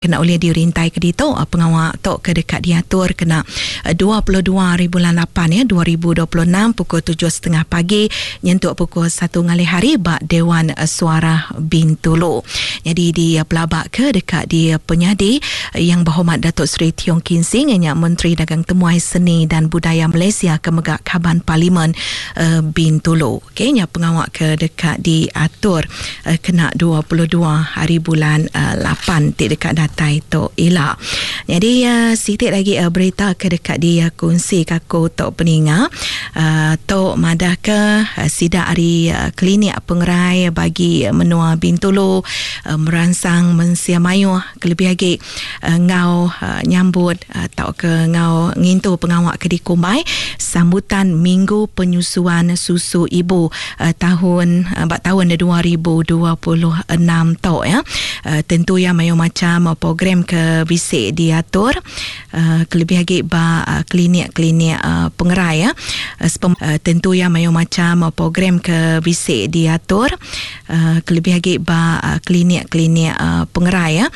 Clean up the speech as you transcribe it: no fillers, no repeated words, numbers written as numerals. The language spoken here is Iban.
Kena ulih dirintai ke ditu pengawa tu ke deka diatur kena 22 hari bulan lapan ya 2026 pukul tujuh setengah pagi nyentuk pukul satu ngalih hari ba Dewan Suarah Bintulu. Nyadi dipelaba ke deka dipenyadi Yang Berhormat Datuk Seri Tiong Kin Sing iya nya Menteri Dagang Temuai Seni dan Budaya Malaysia ke mega Kaban Parlimen Bintulu. Okey nya pengawa ke deka diatur kena 22 hari bulan lapan ti deka datai tu ila. Nyadi siti lagi berita ke deka dikunsi ka aku tu peninga tu madahka sida ari klinik pengerai bagi menua Bintulu meransang mensia mayuh kelebih agi enggau nyambut tauka enggau ngintu pengawa ke dikumbai Sambutan Minggu Penyusuan Susu Ibu tahun ba taun 2026 tu ya. Tentu iya mayuh macham program ke bisi diatur kelebih agi ba klinik-klinik pengerai ya. Tentu iya mayuh macham program ke bisi diatur kelebih agi ba klinik-klinik pengerai ya.